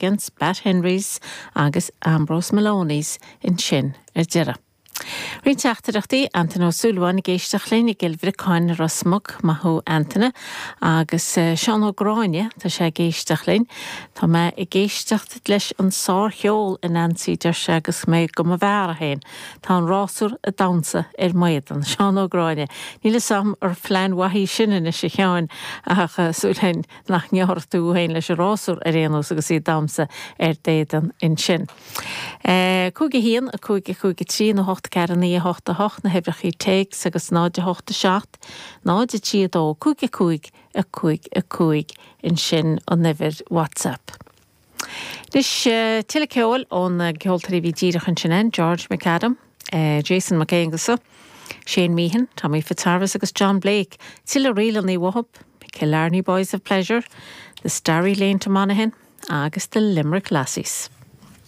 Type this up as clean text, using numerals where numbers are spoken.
Against, Pat Henrys agus Ambrose Maloney's ansin ar deireadh. Roinnt teachtaireachtaí, Antaine Ó Súilleabháin ag éisteacht linn i gCill Bhriocáin i Ros Muc, maith thú Antaine, agus Seán Ó Gráinne, tá sé ag éisteacht linn. Tá mé ag éisteacht leis an sárcheol a Nancy, deir sé, agus mé go mo bheár féin. Tá an rásúr ag damhsa ar m'éadan. Seán Ó Gráinne, Níl fhios a'm ar phlean mhaith í sin anois a Sheáin, ach súil a'inn nach ngearrfaidh tú féin leis an rásúr ar aon nós agus í ag damhsa ar d'éadan ansin. 5 1, 5 5 3 nó 8 4 9 8 8 na huimhreachaí téacs agus 0 8 7 0 3 2 5 5 5 5 ansin an uimhir WhatsApp. Anois, tuilleadh ceoil ó na ceoltóirí a bhí díreach ansin ann, George McAdam, Jason Mac Aonghusa, Shane Meehan, Tommy Fitzharvest agus John Blake, tuilleadh ríleanna uathu, Killarney Boys of Pleasure, The Starry Lane to Monaghan agus The Limerick Lassies.